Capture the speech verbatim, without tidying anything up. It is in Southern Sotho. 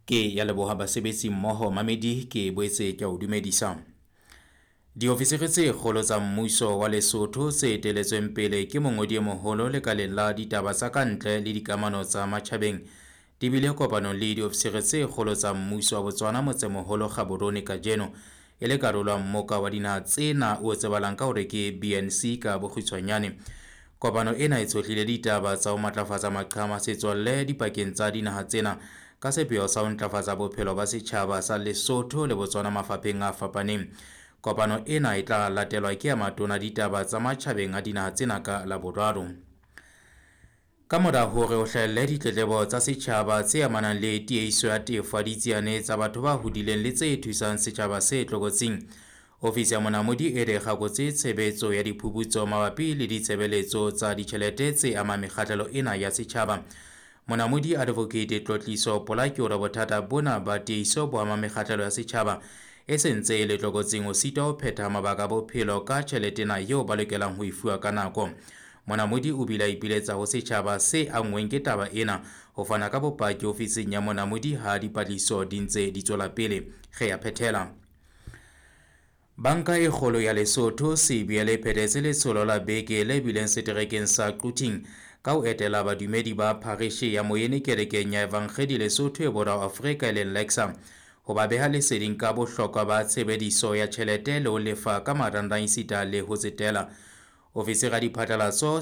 Ke ya leboha basebetsi mmoho mamedi ke boetse ke a o dumedisa. Diofisiri tse kgolo tsa mmuso wa Lesotho tse eteletsweng pele ke mongodi e moholo lekaleng la ditaba tsa ka ntle le dikamano tsa matjhabeng di bile kopanong le diofisiri tse kgolo tsa mmuso wa Botswana motsemoholo Gaborone kajeno e le karolo ya mmoka wa dinaha tsena o tsebahalang ka hore ke B N C ka bokgutshwanyane. Kopano ena e tshohlile ditaba tsa ho matlafatsa maqhama setswalle dipakeng tsa dinaha tsena ka sepheo sa ho ntlafatsa bophelo ba setjhaba sa Lesotho le Botswana mafapheng a fapaneng. Kopano ena e tla latelwa ke ya matona ditaba tsa matjhabeng a dinaha tsena ka Laboraro. Ka mora hore ho hlahelle ditletlebo tsa setjhaba tse amanang le tiehiso ya tefo ya ditsiane tsa batho ba hodileng le tse thusang setjhaba se tlokotsing, ofisi ya Monamodi e re kgakotse tshebetso ya diphuputso mabapi le ditshebeletso tsa ditjhelete tse amang mekgahlelo ena ya setjhaba. Monamodi Advocate Tlotliso Polaki o re bothata bona ba tiehiso bo ama mekgahlelo ya setjhaba e sentse e le tlokotsing ho sitwa ho phetha mabaka a bophelo ka tjhelete ena eo ba lokelang ho e fuwa ka nako. Monamodi o bile a ipiletsa ho setjhaba se anngweng ke taba ena ho fana ka bopaki ofising ya Monamodi ha dipatlisiso di ntse di tswela pele. Re ya phethela. Banka e kgolo ya Lesotho C B L e phethetse letsholo la beke le bileng seterekeng sa Quthing ka ho etela badumedi ba pharishe ya Moyene kerekeng ya Evangedi Lesotho e Borwa Afrika e leng L E C S A ho ba beha leseding ka bohlokwa ba tshebediso ya tjhelete le ho lefa ka marangrang esita le ho tsetela. Ofisiri ya diphatlalatso